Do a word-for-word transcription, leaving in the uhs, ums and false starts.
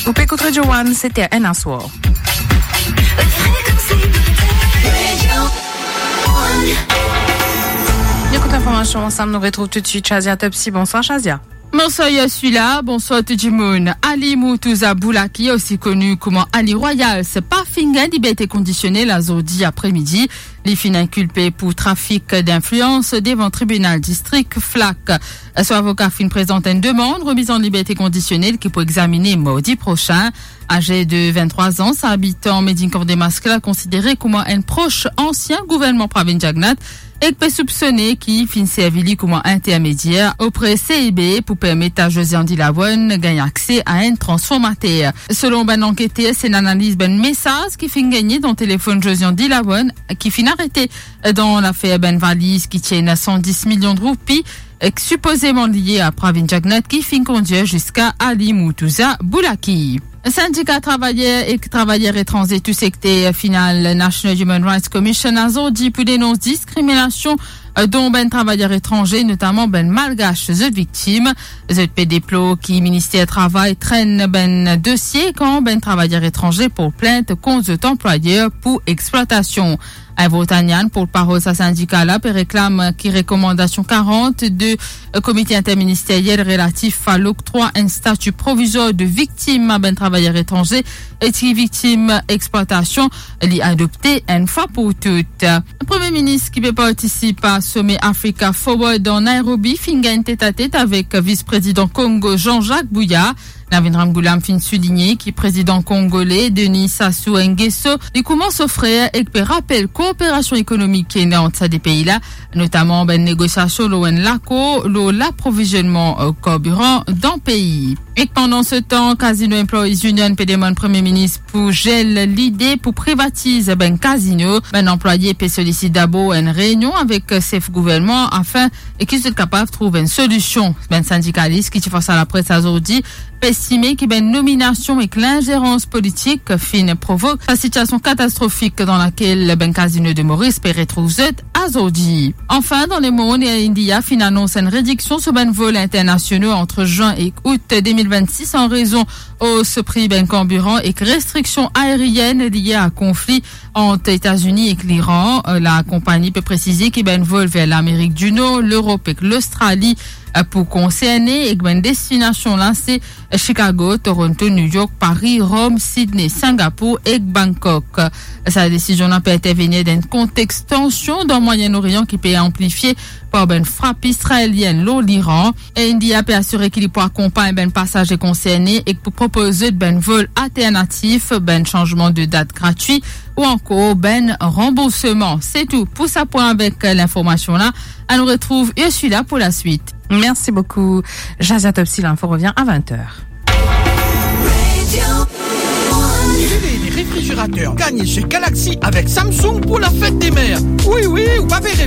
Ou pe ekout Radio One, sete enn aswar. Nou ekout linformasion ansam, nou retrouv toutswit Shazia Topsy. Bonswar Shazia. Bonswar Ursula, bonswar tou dimoun. Ali Murtuza Boulaki, osi koni kouma Ali Royal, se pa finn gagn liberte kondisionel azordi apremidi. Li finn inkilpe pou trafik dinflians devan tribinal distrik Flak. So avoka finn prezant enn demann remiz an liberte kondisionel ki pou examine mardi prosin. Aze de vinn-trwa an, sa abitan Medinkan Demask la konsidere kouma enn pros ansien gouvernman Pravind Jugnauth ek pe soupsone ki finn servi li kouma intermedier opre C I B pou permet a Josian Dilawan gagn akse a enn transformater. Selon bann ankete, se enn analiz bann mesaz ki finn gagne dan telefonn Josian Dilawan ki finn arete dan lafer bann valiz ki ti ena san dis milion roupi, ek sipozeman lie a Pravind Jugnauth ki finn kondir ziska Ali Murtuza Boulaki. Sindika travayer ek travayer etranze tou sekter final National Human Rights Commission azordi pou denons diskriminasion, eh, dont bann travayer etranze, notaman bann Malgash, zot viktim. Zot pe deplor ki Minister Travay trenn bann dosie kan bann travayer etranze porte plint kont zot anplwayer pou eksplwatasion. Ivor Tanian, portparol sa sindika la, pe reklam ki rekomandasion karant de Komite Interministeriel relatif a loktrwa enn stati provizwar de viktim a bann travayer etranze e ti viktim eksplwatasion, li adopte enn fwa pou tou. Premie Minis ki pe partisip a some Africa Forward dan Nairobi finn gagn tetatet avek Vis-Prezidan Kongo Jean-Jacques Bouya. Navin Ramgoolam finn souligne ki Prezidan kongole Denis Sassou Nguesso, li kouma so frer, ek pe rapel kooperasion ekonomik ki ena ant sa de pei la, notaman bann negosiasion lor enn lakor lor laprovizionman, eh, karbiran dan pei. Ek pandan se tan, Casino Employees Union pe demann Premie Minis pou zel lide pou privatiz bann kazino. Bann anplwaye pe solisit dabor enn reynion avek sef gouvernman afin ki zot kapav trouv enn solision. Bann sindikalis ki ti fas a lapres azordi pe estime ki bann nominasion ek linzerans politik finn provok sa sitiasion katastrofik dan lakel bann kazino de Moris pe retrouv zot azordi. Anfin, dan lemond, Air India finn anons enn rediksion so bann vol internasional ant zin ek out de mil vennsis an rezon os pri bann karbiran ek restriksion aerienn lie a konfli ant Etazini ek Liran. La konpagni pe presize ki bann vol ver Lamerik di Nor, Lerop ek Lostrali, eh, pou konserne, ek bann destinasion la se Chicago, Toronto, New York, Paris, Rome, Sydney, Singapour ek Bangkok. Sa desizion la pe intervenir dan enn kontex tansion dan Mwayen Orian ki pe anplifie par bann frap israelienn lor Liran. Air India pe asire ki li pou akonpagn bann pasaze konserne ek pou propoz zot bann vol alternatif, bann sanzman de dat gratwi ou ankor bann ranbourseman. Se tou pou sa pwin avek linformasion la. Anou retrouv Ursula pou laswit. Merci beaucoup, Jazia Topsy. L'info revient à vingt heures. Télé et réfrigérateur, gagnez chez Galaxy avec Samsung pour la fête des mères. Oui, oui, ou pa vre.